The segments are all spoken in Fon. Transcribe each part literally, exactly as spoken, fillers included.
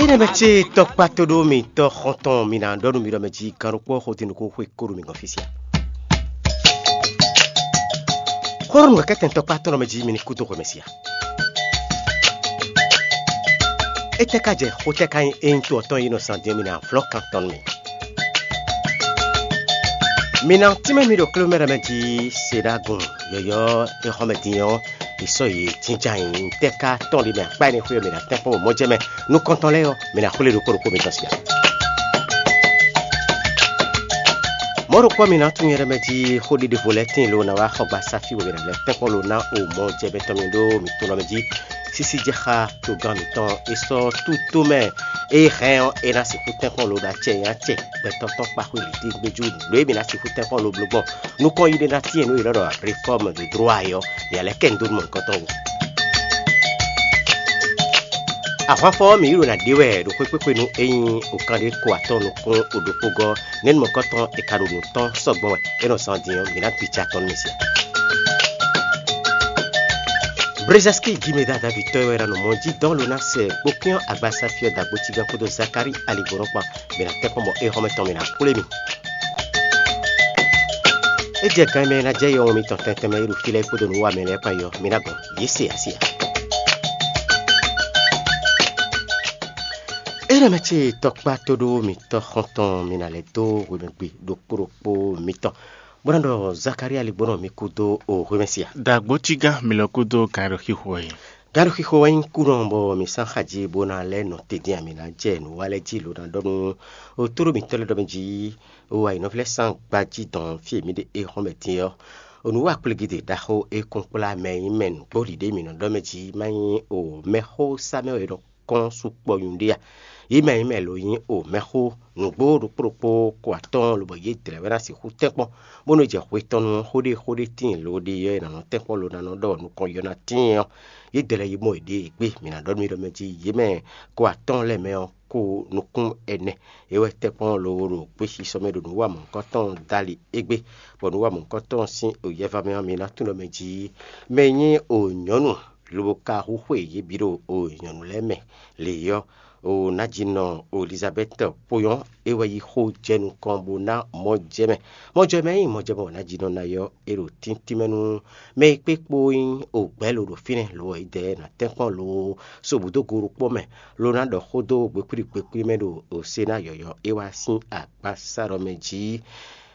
Énɛ́ mɛ ce tɔkpá tó ɖó mi tɔ́ xɔ́ntɔn mi ná ɖɔ nú mi ɖɔ mɛ jí gannukpɔ́ xo din nukún xwe kó ɖo mi gɔ́n fí sia. Xó ɖo nǔkɛkɛ́tɛn tɔkpá tɔn ɖɔ mɛ jí mi ní kú dó xwe mɛ sia. Étɛ́ ka jɛ xó tɛ́ ka nyí ényí to ɔ́ tɔn yi nɔ zan din ɔ́ mi ná vlɔ́ kan tɔn nú mi. Mi ná tínmɛ mi ɖo klé mɛ ɖɔ mɛ jí se ɖó agun yɔ̌yɔ́ e xɔ mɛ din ɔ́, è sɔ́ yě jínjɔ́n ayǐ. Ntɛ́ ka tɔn ɖi mɛ akpá énɛ́ xwé ɔ́ mǐ ná tɛ́nkpɔ́n mɔ jɛ mɛ nukɔntɔn lɛ́ɛ ɔ́, mǐ ná xwlé ɖokpó ɖokpó mitɔn sia. Mɔ̌ ɖokpó mǐ ná tunwun nyɛ ɖɔ mɛ jí xó ɖiɖe vo lɛ́ɛ tíin lo ná wá xɔ gba sáfí wɛ mǐ ná lɛ́ tɛ́nkpɔ́n lo ná o mɔ jɛ mɛ tɔn mì ɖó mǐ tunwun ɖɔ mɛ jí sísí jɛ xá togán mǐtɔn e sɔ́ tútó mɛ. Ée hɛn ɔ́, é ná sixú tɛ́nkpɔ́n lo ɖo acɛ nyi acɛ gbɛtɔ́ tɔn kpa xwé lǐdígbéjú nǔ e mǐ ná sixú tɛ́nkpɔ́n lo bló gbɔn nukɔn yi ɖé ná tíin nǔ e è nɔ ɖɔ réfɔ́mu de droit ɔ́, mǐ ná lɛ́ kɛ nǔ dó nú mɔ̌hunkɔtɔn wú. Ahwanfɔ ɔ́, mǐ yi ɖo ná ɖe wɛ ɖo xwé kpékpé nú é nyí okanɖé ko atɔ́ɔ́n nukún oɖokpógɔ́ nɛ́numɔkɔ́tɔn è ka ɖo nǔ tɔn sɔ́ gbɔn wɛ é nɔ zán din ɔ́, mǐ ná gbica tɔn nú mì sia. Brezɛski Gimeda Davitɔ́ wɛ ná nɔ mɔ jí dɔn lo ná sɛ gbokpíɔn agbasáfí ɔ́ dagbo cígán kpódó Zakalíi aligbɔnɔ kpán. Mǐ ná tɛ́nkpɔ́n bɔ éhɔ́mɛ tɔn mǐ ná xwlé mi. É jɛ gan e mɛ e ná jɛ yɔwɔn mitɔn tɛntɛn mɛ e ɖo fí lɛ́ɛ kpódó nǔwanmɛ lɛ́ɛ kpán é ɔ́, mi ná gbɔn yě se asi ǎ. Énɛ́ mɛ ce tɔkpá tó ɖó mitɔ́ xɔ́ntɔn mi ná lɛ́ dó hwemɛgbe ɖokpó ɖokpó mitɔn, bó ná ɖɔ Zakalíi aligbɔnɔ mi kú dó o hwemɛ sia. Dagbo cígán mi lɔ kúdó gǎn e ɖo xixo wɛ é. Gǎn e ɖo xixo wɛ nyí kúnɔ bɔ mi sán xají bó ná lɛ́ nɔ tedin a mi ná jɛ nǔ wa lɛ́ɛ jí lo ná ɖɔ nú otóɖó mitɔ́ lɛ́ɛ ɖɔ mɛ jí o ayǐnɔví lɛ́ɛ sán gbají dɔn fí e mǐ ɖe éhɔ́n mɛ din ɔ́. O nǔ wa kplígídě ɖaxó e kún kplá mɛ e nyí mɛ nǔgbó ɖiɖe mǐ nɔ ɖɔ mɛ jí má nyí o mɛxó sá mɛ wɛ è nɔ kɔn sukpɔ́ nyuɖé a? Yě mɛ e nyí mɛ lo nyí o mɛxó nǔgbó ɖokpó ɖokpó ko atɔ́ɔ́n lobɔ yě dlɛ̌ wɛ ná sixú tɛ́nkpɔ́n, bónú è jɛ hwe tɔn nu ɔ́, xó ɖé xó ɖé tíin lo ɖe ɔ́ è nǎ nɔ tɛ́nkpɔ́n lo ná nɔ ɖɔ nukɔn yɔ ná tíin ɔ́, yě dlɛ̌ yi mɔ yěɖée gbé. Mǐ ná ɖɔ nú mi ɖɔ mɛ jí yě mɛ ko atɔ́ɔ́n lɛ́ɛ mɛ ɔ́, ko nukún ɛnɛ é wɛ tɛ́nkpɔ́n lo ɖo gběsisɔ mɛ ɖo nǔ wa mɔ̌hunkɔtɔn dali égbé, bɔ nǔ wa mɔ̌hunkɔtɔn sín yɛva mɛ ɔ́, mi ná tunwun ɖɔ mɛ jí mɛ e nyí o nyɔ̌nu lobo ka hu xwe yě bǐ ɖo o nyɔ̌nu lɛ́ɛ mɛ lě ɔ́, o ná ji nɔ Elizabɛ́ti kpo ɔ́, é wɛ yi xó jɛ nukɔn bó ná mɔjɛmɛ. Mɔjɛmɛ e nyí mɔjɛmɛ wɛ ná ji nɔ ná ɔ́, é ɖo tíntín mɛ nú mɛ e kpé kpó nyí o gbɛ̌ lo ɖo fínɛ́ lo wɛ é dɛ ná tɛ́nkpɔ́n lo so bǔ dó go ɖokpó mɛ, lo ná ɖɔ xó dó gbekplí gbekplí mɛ ɖo o se ná yɔ̌yɔ́ é wá sín agbasa ɖɔ mɛ jí.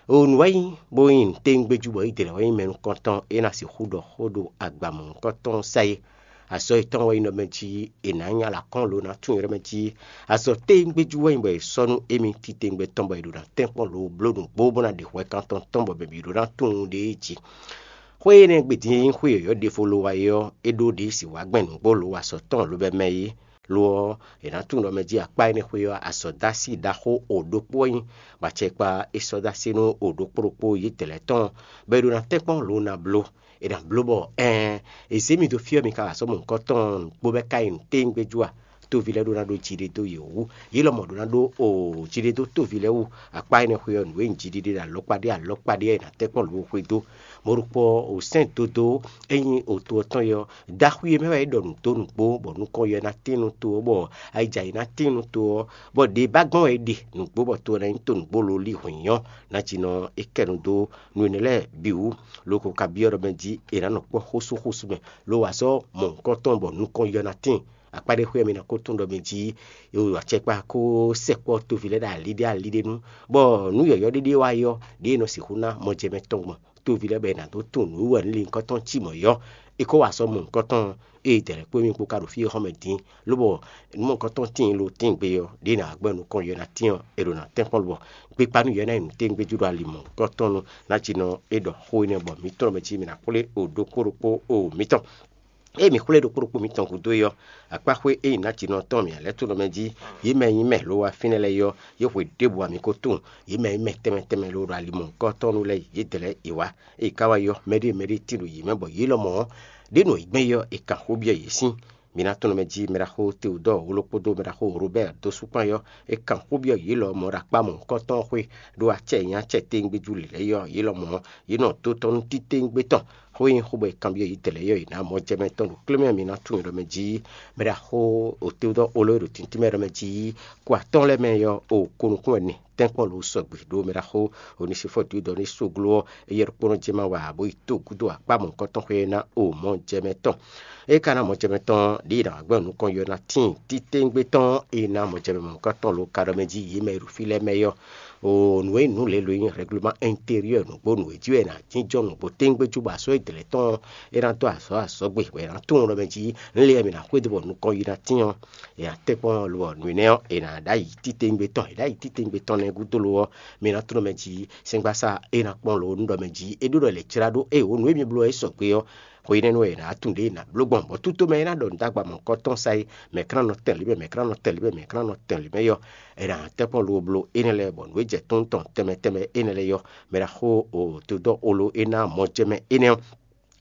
O nǔ wɛ nyí bó nyí nǔtɛ́ngbéjú bɔ é dlɛ̌ wɛ nyí mɛ nukɔntɔn é ná sixú ɖɔ xó ɖo agba mɔ̌hunkɔtɔn sa é. Azɔ̌ yětɔn wɛ nyí nɔ mɛ jí è nǎ nya alǎ kɔn lo ná tunwun ylɔ́ mɛ jí. Azɔ̌ tɛ́ngbéjú wɛ nyí bɔ è sɔ́ nú émí titewungbe tɔn bɔ è ɖo ná tɛ́nkpɔ́n lo bló nǔgbó bó ná ɖe hwɛkantɔn tɔn bɔ mɛ bǐ ɖó ná tunwun ɖ'é jí. Xwé énɛ́ gbe din e nyí xwé yɔ̌yɔ́ ɖěvo lo wa é ɔ́, é ɖó ɖě si wǎ gbɛn nǔgbó lo wa sɔ̌ tɔn lobɛ mɛ é. Lo ɔ́, è nǎ tunwun ɖɔ mɛ jí akpá énɛ́ xwé ɔ́, azɔ̌dásí ɖaxó o ɖokpó wɛ nyí, bɔ acɛkpa é sɔ́ dó así nú o ɖokpó ɖokpó yědɛɛ lɛ́ɛ tɔn, bɔ è ɖo ná tɛ́nkpɔ́n lo ná bló. È nǎ bló bɔ ɛɛn, è zě mi dó fí ɔ́, mi ka wa sɔ́ mɔ nǔkɔntɔn nǔgbó bɔ é ka nyí nǔtɛ́ngbéjú a? Toví lɛ́ɛ ɖó ná ɖó jiɖe dó yě wú, yě lɔmɔ̌ ɖó ná ɖó o jiɖe dó toví lɛ́ɛ wú. Akpá énɛ́ xwé ɔ́, nǔ e nyí jiɖiɖe ɖo alɔkpa ɖé alɔkpa ɖé ɔ́, è nǎ tɛ́nkpɔ́n lǒ xwedó. Mɔ̌ ɖokpó ɔ́, o sɛ́n dodó e nyí oto ɔ́ tɔn é ɔ́, daxwi e mɛ wɛ é ɖɔ nǔ dó nǔgbó, bɔ nukɔn yɔ ná tín nú to ɔ́, bɔ ayijǎ yi ná tín nú to ɔ́, bɔ ɖě ba gbɔn wɛ é ɖe nǔgbó, bɔ to ɔ́ ná nyí to nǔgbó lolí hwǐn ɔ́, ná jinɔ é kɛ nu dó nǔ énɛ́ lɛ́ɛ bǐ wú. Loko ka byɔ́ ɖɔ mɛ jí è nǎ nɔ kpɔ́ xósúxósú mɛ, lo wǎ sɔ́ mɔ nǔkɔntɔn bɔ nukɔn yɔ ná tíin. Akpá ɖé xwé ɔ́, mi ná ko tunwun ɖɔ mɛ jí acɛkpa ko sɛkpɔ́ toví lɛ́ɛ ɖo ali ɖé ali ɖé nu, bɔ nǔ yɔ̌yɔ́ ɖé ɖé wá yi ɔ́, ɖěe è nɔ sixú ná mɔjɛmɛ tɔn gbɔn toví lɛ́ɛ bɔ è nǎ dó tunwun nǔ wɛ nú linkɔ́ tɔn cí mɔ̌ yi ɔ́, è ko wá sɔ́ mɔ nǔkɔntɔn e dɛ̌ lɛ́ɛ kpó mì kpó ka ɖo fí e xɔ́ mɛ dín, lobɔ nǔ mɔ̌hunkɔtɔn tíin lo tíin gbe ɔ́, ɖěe è nǎ gbɛ́ nukɔn yɔ ná tín ɔ́, è ɖo ná tɛ́nkpɔ́n lobɔ gbekpanu yɔ ná nyi nǔtɛ́ngbéjú ɖo ali mɔ̌hunkɔtɔn nu, ná jí nɔ é ɖɔ xó énɛ́ bɔ mǐ tɔn mɛ jí mǐ ná xwlé o ɖokpó ɖokpó o mǐtɔn. Ée mǐ xwlé ɖokpó ɖokpó mitɔn gúdo é ɔ́, akpáxwé e nyí nǎjínɔ tɔn mǐ lɛ́ tunɔ mɛ jí, yě mɛ e nyí mɛ lo wá fínɛ́ lɛ́ɛ é ɔ́, yě hwe ɖěbǔ ǎ mǐ ko tunwun. Yě mɛ e nyí mɛ tɛnmɛ tɛnmɛ lo ɖo alimɔ̌hunkɔtɔn nu lɛ́ɛ, yě dlɛ̌ yě wá. Ée yě ka wá yi ɔ́, mɛɖée mɛɖée tín ɖo yě mɛ bɔ yě lɔmɔ̌ ɔ́, ɖě nɔ yi gbɛn é ɔ́, è kan xó byɔ́ yě sín. Mǐ ná tunɔ mɛ jí mɛɖaxó Teodɔ́ɔ wló kpódó mɛɖaxó Robɛ́ɛ dó sú kpán é ɔ́, è kan xó byɔ́ yě lɔmɔ̌ ɖo akpá mɔ̌hunkɔtɔn ɔ́ xwé, ɖó acɛ e nyí acɛ téŋgbéjú lǐlɛ́ é ɔ́, yě lɔmɔ̌ yě nɔ dó tɔ́ nú titewungbe tɔn. Xó e nyí xó bɔ è kanbyɔ́ yě dlɛ̌ yɔ è nǎ mɔ jɛ mɛ tɔn ɖo klé mɛ, mi ná tunwun ɖɔ mɛ jí mɛ ɖo axó òtéwúdɔ́ olo e ɖo tintínmɛ ɖɔ mɛ jí kó atɔ́ɔ́n lɛ́ɛ mɛ yɔ o ko nukún wɛ nɛ tɛ́nkpɔ́n lo sɔgbe ɖó mɛ ɖaxó Onesifɔ́ɔ Dǐwudɔ́ ní sógló ɔ́, éyɛ́ ɖokpónɔ jɛ́n ma wa bó yi tó gúdo akpá mɔ̌hunkɔtɔn xwé ná o mɔ̌ jɛ mɛ tɔn. É ka ná mɔ jɛ mɛ tɔn ɖě è nǎ wá gbɛ́ nukɔn yɔ ná tíin títewungbe tɔn e ná mɔ jɛ mɛ mɔ̌hunkɔtɔn lo ka ɖɔ mɛ jí yě mɛ e ɖo fí lɛ́ɛ mɛ yɔ. O nǔ e nǔ lě lo nyí règlement intérieur nǔgbó nǔ e jí wɛ è nǎ jínjɔ́n nǔgbó téńgbé jú bɔ azɔ̌ e dlɛ̌ tɔn ɔ́, é ná dó azɔ̌ azɔ̌ gbe bɔ è nǎ tunwun ɖɔ mɛ jí nǔ lě e mǐ ná xwedó bɔ nukɔn yi ná tín ɔ́, è nǎ tɛ́nkpɔ́n lo ɔ́, nǔ énɛ́ ɔ́, è nǎ ɖó ayǐ títewungbe tɔn. È ɖó ayǐ títewungbe tɔn nɛ́ gúdo lo ɔ́, mi ná tunwun mɛ jí sɛ́ngbásá e ná kpɔ́n lo nú ɖɔ mɛ jí é ɖó ɖɔ è lě jlá ɖó ée wǒ nǔ e mi bló ɔ́ é sɔgbe ɔ́, xwe énɛ́ nú wɛ è nǎ tunwun ɖě è nǎ bló gbɔn, bɔ tútomɛ e ná ɖɔ nǔ dó agba mɔ̌hunkɔtɔn sá é, mɛ̌ ka ná nɔ tɛn lě mɛ, mɛ̌ ka ná nɔ tɛn lě mɛ, mɛ̌ ka ná nɔ tɛn lě mɛ yɔ, è nǎ tɛ́nkpɔ́n lo bló énɛ́ lɛ́ɛ bɔ nǔ e jɛ tún tɔn tɛnmɛ tɛnmɛ énɛ́ lɛ́ɛ yɔ, mɛ ɖaxó o dodɔ́ olo e ná mɔ jɛ mɛ énɛ́ ɔ́,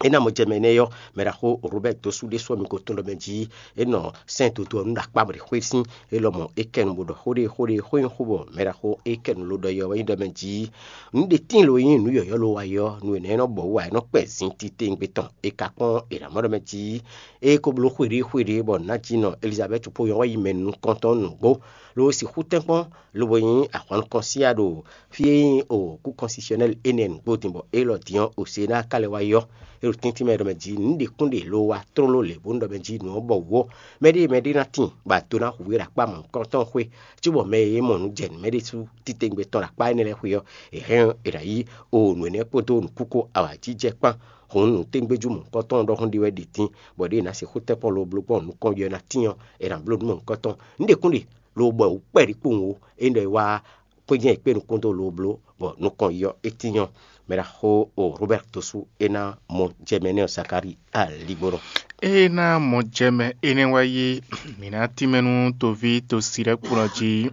é ná mɔ jɛ mɛ énɛ́ yɔ, mɛ ɖaxó Robɛ́ɛ dó sú ɖésú ɔ́ mi ko tunwun ɖɔ mɛ jí é nɔ sɛ́n dodó ɔ́ nú ɖo akpá bɔ ɖě xwé sín é lɔmɔ̌ é kɛ nu bó ɖɔ xó ɖé xó ɖé xó nyí xó bɔ mɛ ɖaxó é kɛ nu ló ɖɔ yɔ wɛ nyí ɖɔ mɛ jí nǔ ɖé tíin lo nyí nǔ yɔ̌yɔ́ lo wa yɔ nú è nɔ e nɔ bɔ wú ǎ é nɔ kpɛ zin titewungbe tɔn. È ka kpɔ́n è nǎ mɔ ɖɔ mɛ jí é ko bló xwéɖée xwéɖée bɔ nǎ jí nɔ Elizabɛ́ti kpó nyɔ̌ wɛ yi mɛ nukɔntɔn nǔgbó, ló sixú tɛ́nkpɔ́n lobo nyí ahwan nukɔn síá ɖo fí e nyí o kú kɔnsisyɔnɛ́li énɛ́ nǔgbó din bɔ élɔ́ din ɔ́, Osená ka lɛ́ wá yɔ é ɖo tɛ́ntin mɛ ɖɔ mɛ jí nǔ ɖě kún ɖe lo wá tlóló lě bónú ɖɔ mɛ jí nǔ ɔ́ bɔ wǔ ɔ́, mɛɖée mɛɖée ná tíin bɔ ado ná hu we ɖo akpá mɔ̌hunkɔtɔn xwé, cóbɔ mɛ e mɔ nǔ jɛ nǔ mɛ ɖésú titewungbe tɔn ɖo akpá énɛ́ lɛ́ɛ xwé ɔ́, è hɛn ɔ́, è nǎ yí o nǔ énɛ́ kpódó nǔkúkó awǎjijɛ kpán. Hǔn nǔ tégbéjú mɔ̌hunkɔtɔn ɖɔhun ɖé wɛ ɖi tín, bɔ ɖěe è nǎ sixú tɛ́nkpɔ́n lo bló gbɔn nukɔn yɔ ná tín ɔ́, è nǎ bló nǔ mɔ̌hunkɔtɔn. Nǔ ɖě kún ɖe lo bɔ è wǔ kpɛɖi kpowun ó, é nyí ɖɔ è wá xwé jɛ́n è kpé nukún dó lo bló, bɔ nukɔn yɔ é tín ɔ́, mɛ ɖaxó o Robɛ́ti dó sú é ná mɔ jɛ mɛ nɛ́ ɔ́ Zakalíi aligbɔnɔ. Ée ná mɔ jɛ mɛ énɛ́ wá yí, mǐ ná tínmɛ nú toví tosí lɛ́ɛ kplɔ́n jí.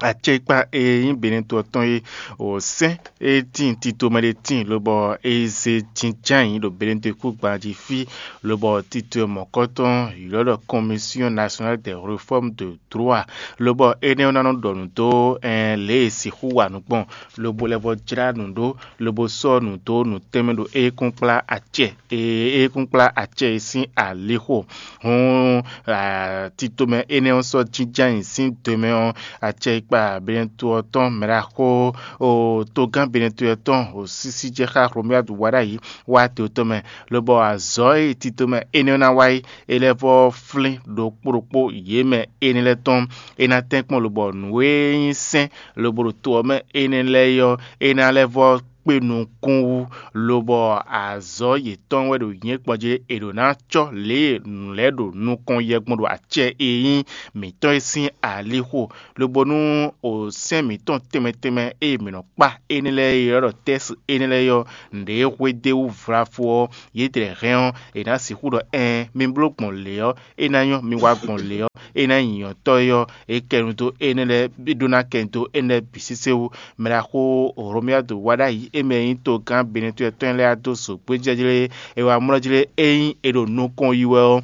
Acɛkpa e nyí Benɛto ɔ́ tɔn é, o sɛ́n e tíin tito mɛ ɖé tíin, lobɔ é zé jínján ayǐ ɖo Benɛto kúgban jí fí, lobɔ tito e mɔ̌kɔtɔn ylɔ́ ɖɔ Commission Nationale des Réformes de Droit, lobɔ énɛ́ ɔ́ ná nɔ ɖɔ nǔ dó lě e è sixú wa nǔ gbɔn, lobo lɛ́ vɔ́ jlá nǔ ɖó, lobo sɔ́ nǔ dó nǔ tɛnmɛ ɖo éyɛ́kúnkplá acɛ e éyɛ́kúnkplá acɛ e sín alixo. Hǔn titomɛ énɛ́ ɔ́ sɔ́ jínjɔ́n ayǐ sín do mɛ ɔ́, acɛkpa Benɛto ɔ́ tɔn mɛ ɖaxó togán Benɛto ɔ́ tɔn o sísí jɛ xá Hlomyadu wá ɖ'ayǐ wá to tɔn mɛ, lobɔ azɔ̌ e titomɛ énɛ́ ɔ́ ná wa é, é lɛ́ vɔ́ flín ɖokpó ɖokpó yě mɛ énɛ́ lɛ́ɛ tɔn. É ná tɛ́nkpɔ́n lobɔ nǔ e nyí sɛ́n lobo ɖo to ɔ́ mɛ énɛ́ lɛ́ɛ é ɔ́, é ná lɛ́ vɔ́ kpé nukún wú, lobɔ azɔ̌ yětɔn wɛ ɖo nyɛ̌kpɔ́n jí è ɖǒ ná cɔ́ lě e nǔ lɛ́ɛ ɖo nukɔn yɛ gbɔn ɖo acɛ e nyí mǐtɔn é sín alixo, lobo nú o sɛ́n mǐtɔn tɛnmɛ tɛnmɛ e mǐ nɔ kpá énɛ́ lɛ́ɛ e ylɔ́ ɖɔ tɛ́si énɛ́ lɛ́ɛ ɔ́, nǔɖé e hwedó e wú vlafo ɔ́, yědɛɛ hɛn ɔ́, è nǎ sixú ɖɔ: Ɛɛn, mi bló gbɔn lě ɔ́, é ná nyɔ́, mi wá gbɔn lě ɔ́, é ná nyí nyɔ̌tɔ́ é ɔ́, é kɛ nu dó énɛ́ lɛ́ɛ ɖó ná kɛ nu dó énɛ́ lɛ́ɛ bǐ sésé wú. Mɛ ɖaxó Hlomyadu wá ɖ'ayǐ é mɛ e nyí togán Benɛto tɔn lɛ́ɛ wá dó zo gbéjɛ́jlé e wá mlɔ́ jlé ényí è ɖo nukɔn yi wɛ ɔ́,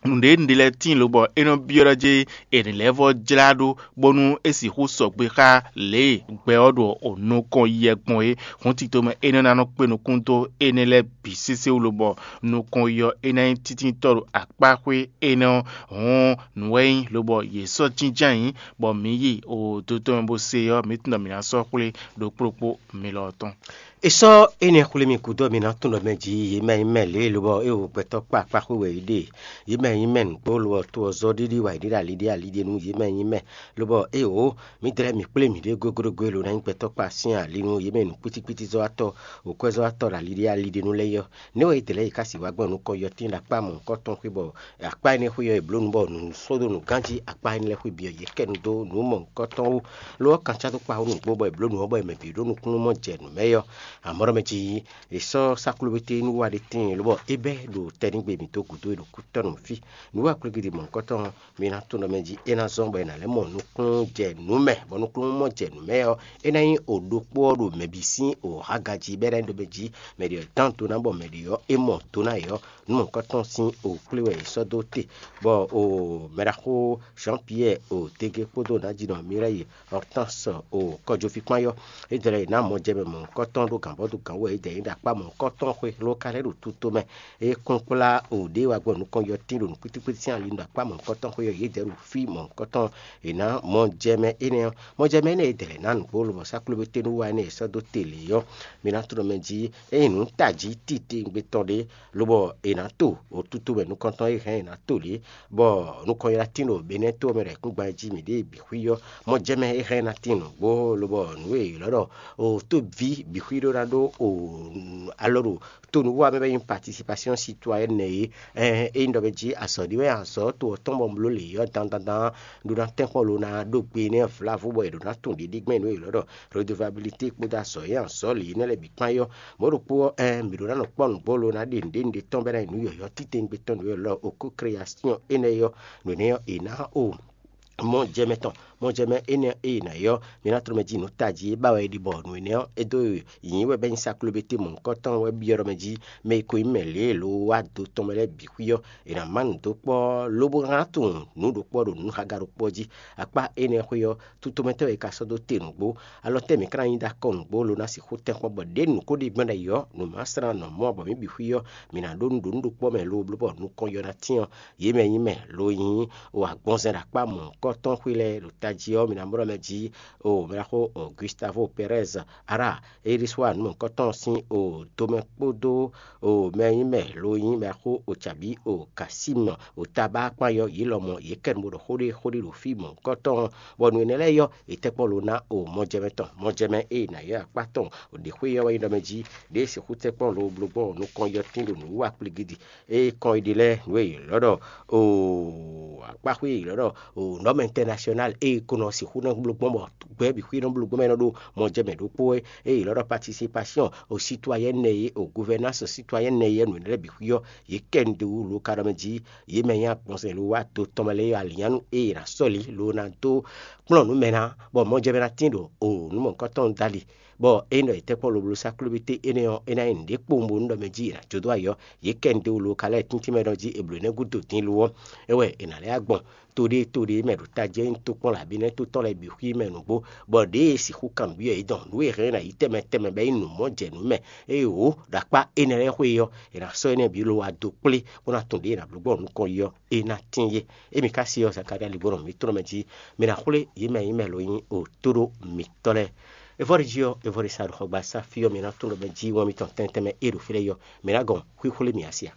nǔɖé nǔɖé lɛ́ɛ tíin lobɔ é nɔ byɔ́ ɖɔ jí è nǐ lɛ́ vɔ́ jlá ɖó bónú é sixú sɔgbe xá lě e gbɛ ɔ́ ɖo nukɔn yi wɛ gbɔn é. Hǔn tito mɛ énɛ́ ná nɔ kpé nukún dó énɛ́ lɛ́ɛ bǐ sésé wú lobɔ nukɔn yi ɔ́ é ná nyí tíntínítɔ́ ɖo akpáxwé énɛ́ ɔ́. Hǔn nǔ wɛ nyí lobɔ yě sɔ́ jínjɔ́n ayǐ, bɔ mǐ yi o do tɔn mɛ bó se ɔ́, mǐ tunwun ɖɔ mǐ ná sɔ́ xwlé ɖokpó ɖokpó mi lɔ ɔ́ tɔn. È sɔ́ énɛ́ xwlé mi gúdo ɔ́, mi ná tunwun ɖɔ mɛ jí yě mɛ nyí mɛ lě e lobɔ é wo gbɛtɔ́ kpá akpáxwé wɛ yě ɖe. Yě mɛ nyí mɛ nǔgbó lobɔ to ɔ́ zɔ́ ɖiɖi wá yě ɖe ɖo ali ɖé ali ɖé nú yě mɛ nyí mɛ, lobɔ éeǒ, mǐ dlɛ́ mǐ kplé mǐɖée goglogo e lo ná nyí gbɛtɔ́ kpá sín ali nú yě mɛ nǔkpítíkpítí zɔ́watɔ́, wǒkwɛ́zɔ́watɔ́ ɖo ali ɖé ali ɖé nú lɛ́ɛ é ɔ́. Nɛ̌ wɛ yě dlɛ́ yě ká sixú wá gbɔn nukɔn yɔtín ɖo akpá mɔ̌hunkɔtɔn xwé bɔ akpá énɛ́ xwé ɔ́ è blǒ nu bɔ nǔ sɔ́ dó nǔ ganjí akpá énɛ́ lɛ́ɛ xwé bǐ ɔ́, yě kɛ nu dó nǔ mɔ̌hunkɔtɔn wú. Lo ɔ́, kan cá dó kpá wú nǔgbó bɔ è blǒ nǔ ɔ́ bɔ è mɛ bǐ ɖó nukúnnú mɔ jɛ nǔ mɛ é ɔ́, amɔ̌ ɖɔ mɛ jí è sɔ́ sáklúbété nú wa ɖé tíin lobɔ é bɛ́ ɖo tɛ́nɖígbe mǐtɔn gǔdo e ɖo kútɔ́ nú mǐ fí. Nǔ wa kwlígídi mɔ̌hunkɔtɔn ɔ́, mi ná tunwun ɖɔ mɛ jí é ná zɔ́n bɔ è nǎ lɛ́ mɔ nukúnnú jɛ nǔ mɛ, bɔ nukúnnú mɔ jɛ nǔ mɛ ɔ́, é ná nyí o ɖokpó ɔ́ ɖo mɛ bǐ sín o hága jí, bɔ é ná nyí ɖɔ mɛ jí mɛ ɖě ɔ́ dán do ná bɔ mɛ ɖě ɔ́ é mɔ do ná yě ɔ́, nǔ mɔ̌hunkɔtɔn sín o kplé wɛ è sɔ́ dó te. Bɔ o mɛɖaxó Jean Pierre o Dege kpódó nǎjínɔ Mireille Hortense o kɔjɔví kpán yɔ́, é jlɛ́ yě ná mɔ jɛ mɛ mɔ̌hunkɔtɔn ɖó gǎnbɔ́ dó gǎn wú wɛ yědɛɛ nyí ɖo akpá mɔ̌hunkɔtɔn xwe ló ka lɛ́ ɖo tuto mɛ. É kún kplá o ɖě wá gbɔ nukɔn yɔtín ɖo nǔkpítíkpítí sín ali ɖo akpá mɔ̌hunkɔtɔn xwe ɔ́, yědɛɛ ɖo fí mɔ̌hunkɔtɔn è nǎ mɔjɛmɛ énɛ́ ɔ́. Mɔjɛmɛ énɛ́ e dɛ̌ lɛ̌ ná nǔgbó lobɔ sáklóbété nú wá énɛ́ e sɔ́ dó te lě ɔ́, mi ná tunɔ mɛ jí ényí nǔ tají titewungbe tɔn ɖé, lobɔ è nǎ to wǒtutu mɛ nukɔntɔn e hɛn è nǎ to lě, bɔ nukɔn ylá tín ɖo Benɛ́to ɔ́ mɛ ɖo ayǐkúngban e jí mǐ ɖe bǐ xwí ɔ́, mɔjɛmɛ e hɛn ná tín nǔgbó, lobɔ nǔ e è ylɔ́ ɖɔ tóví bǐ xwí ɖó ná ɖó alɔ ɖo to nǔwiwa mɛ bɔ é nyí participation citoyenne é. Ényí ɖɔ mɛ jí azɔ̌ ɖé wɛ azɔ̌ to ɔ́ tɔn bɔ un bló lě ɔ́ dandandan ɖó ná tɛ́nkpɔ́n lo ná ɖó gbe nɛ́ vlavo bɔ è ɖǒ ná tunwun ɖiɖígbɛ́n nǔ e è ylɔ́ ɖɔ redevabilité kpódó azɔ̌ e azɔ̌ lě énɛ́ lɛ́ɛ bǐ kpán é ɔ́. Mɔ̌ ɖokpó ɔ́, ɛɛ, mǐ ɖó ná nɔ kpɔ́ nǔgbó lo ná ɖe nǔɖé nǔɖé tɔn bɔ é ná nyí nǔ yɔ̌yɔ́ titewungbe tɔn nǔ e è ylɔ́ ɖɔ okó création énɛ́ é ɔ́, nǔ énɛ́ ɔ́, è nǎ o mɔjɛmɛ tɔn, mɔjɛmɛ énɛ́ e è nǎ ylɔ́ mi ná tló mɛ jí nǔ tají e ba wɛ è ɖi bɔ nǔ énɛ́ ɔ́, é dó nyǐ wɛ bɔ é nyí saklóbété mɔ̌hunkɔtɔn wɛ byɔ́ ɖɔ mɛ jí mɛ e ko nyí mɛ lě e lo wá do tɔn mɛ lɛ́ɛ bǐ xwí ɔ́, è nǎ má nǔ dó kpɔ́ lobo ná tunwun nǔ ɖokpó ɔ́ ɖo nǔhaga ɖokpó ɔ́ jí. Akpá énɛ́ xwé ɔ́, tutomɛtɔ́ e ka sɔ́ dó te nǔgbó, alɔ tɛ́ mǐ ka ná nyí ɖó akɔ nǔgbó lo ná sixú tɛ́nkpɔ́n bɔ ɖěbǔ nǔ ko ɖi gbɔn ɖ'ayǐ ɔ́, nǔ ma slán nɔ mɔ bɔ mǐ bǐ xwí ɔ́, mǐ ná ɖó nǔ ɖo nǔ ɖokpó mɛ lo bló bɔ nukɔn yɔ ná tyɛ́n ɔ́, yě mɛ nyí mɛ lo nyí o agbɔnzɛn ɖo akpá mɔ̌hunkɔtɔn xwé lɛ́ɛ ɖo tají ɔ́, mi ná mlɔ́ mɛ jí o mɛ ná xo o Gustavo Pérez Ara, Eliswa nǔmɔ̌hunkɔtɔn sín o domɛ kpódó o mɛ nyí mɛ lo nyí mɛ ná xo o Chabí o Kasímɔ o Tabá kpán yɔ yě lɔmɔ̌ yě kɛ nu bó ɖɔ xó ɖé xó ɖé ɖo fí mɔ̌hunkɔtɔn, bɔ nǔ énɛ́ lɛ́ɛ yɔ è tɛ́ kpɔ́n lo ná o mɔjɛmɛ tɔn, mɔjɛmɛ e è nǎ ylɔ́ akpá tɔn ɖě xwé ɔ́ wɛ nyí ɖɔ mɛ jí ɖěe sixú tɛ́ kpɔ́n lo bló gbɔn nukɔn yɔ tín ɖo nǔwiwa kplígídi. Ée kɔn yi ɖi lɛ́ɛ nǔ e è ylɔ́ ɖɔ o akpáxwé e è ylɔ́ ɖɔ o nɔ́mɛ intɛnasyɔnál e è ko nɔ sixú nɔ bló gbɔn bɔ gbɛ́ bǐ xwé nɔ bló gbɔn mɛ nɔ ɖo mɔjɛmɛ ɖokpó é, e è ylɔ́ ɖɔ patisipasiyɔn o sitwayɛ́n nɛ e o guvɛnans sitwayɛ́n nɛ e nǔ lɛ́ɛ bǐ xwí ɔ́, yě kɛ nu dó wú lo ka ɖɔ mɛ jí yě mɛ nyí agbɔnsɛn lo wá do tɔn mɛ lɛ́ɛ alǐnnyánú e è nǎ sɔ́li lo ná dó kplɔ́n nǔ mɛ ná, bɔ mɔjɛmɛ ná tín ɖo o nǔ mɔ̌hunkɔtɔn dali. Bɔ ényí ɖɔ è tɛ́ kpɔ́n lobló sá klúbíté énɛ́ ɔ́, é ná nyí nǔɖé kpowun bónú ɖɔ mɛ jí è nǎ jó dó ayǐ ɔ́, yě kɛ nu dó wú lo ka lɛ́ɛ tíntín mɛ ɖɔ jí è blǒ énɛ́ gúdo din lo ɔ́, é wɛ è nǎ lɛ́ wá gbɔn to ɖé to ɖé mɛ ɖo tají ɔ́ nyí tokpɔ́n abǐ nɛ́ to tɔn lɛ́ɛ bǐ xwí mɛ nǔgbó, bɔ ɖěe è sixú kanbyɔ́ yě dɔn nǔ e hɛn ná yi tɛnmɛ tɛnmɛ bɔ é nyí nǔ mɔ jɛ nǔ mɛ, ée wǒ ɖo akpá énɛ́ lɛ́ɛ xwé ɔ́, è nǎ sɔ́ énɛ́ bǐ lo wá dó kplé bó ná tunwun ɖěe è nǎ bló gbɔn nukɔn yi ɔ́, é ná tín yé. Émí ka se ɔ́, Zakalía ligbɔnɔ mǐtɔn mɛ jí, mi ná xwlé yě mɛ nyí mɛ lo nyí o tóɖó mǐtɔn lɛ́ɛ. Evɔ́ɖi jí ɔ́, evɔ́ɖi sa ɖo xɔgbasá fí ɔ́, mi ná tunwun ɖɔ mɛ jí wɛn mitɔn tɛntɛn mɛ e ɖo fí lɛ́ɛ yɔ, mi ná gɔn xwíxwlé mǐ asi a?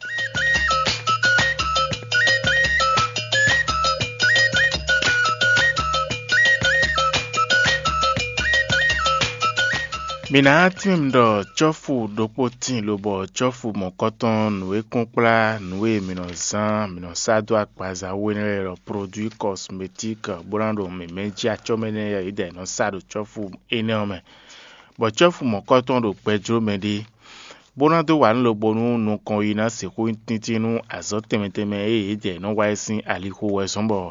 Mi ná tín ɖɔ cɔ́fu ɖokpó tíin lobɔ cɔ́fu mɔ̌kɔtɔn nǔ e kún kplá nǔ e mǐ nɔ zán mǐ nɔ sá dó agbaza wú énɛ́ lɛ́ɛ ɖɔ produit cosmétique bó ná ɖo mǐmɛ́ jí acɔ́ mɛ nɛ́ yɛ̌yidɛɛ nɔ sá ɖo cɔ́fu énɛ́ ɔ́ mɛ, bɔ cɔ́fu mɔ̌kɔtɔn ɖo gbɛjló mɛ ɖé, bó ná dó wa nǔ lobo nú nukɔn yi ná sixú nyí tíntín nú azɔ̌ tɛnmɛ tɛnmɛ e yědɛɛ nɔ wa é sín alixo wɛ zɔ́n bɔ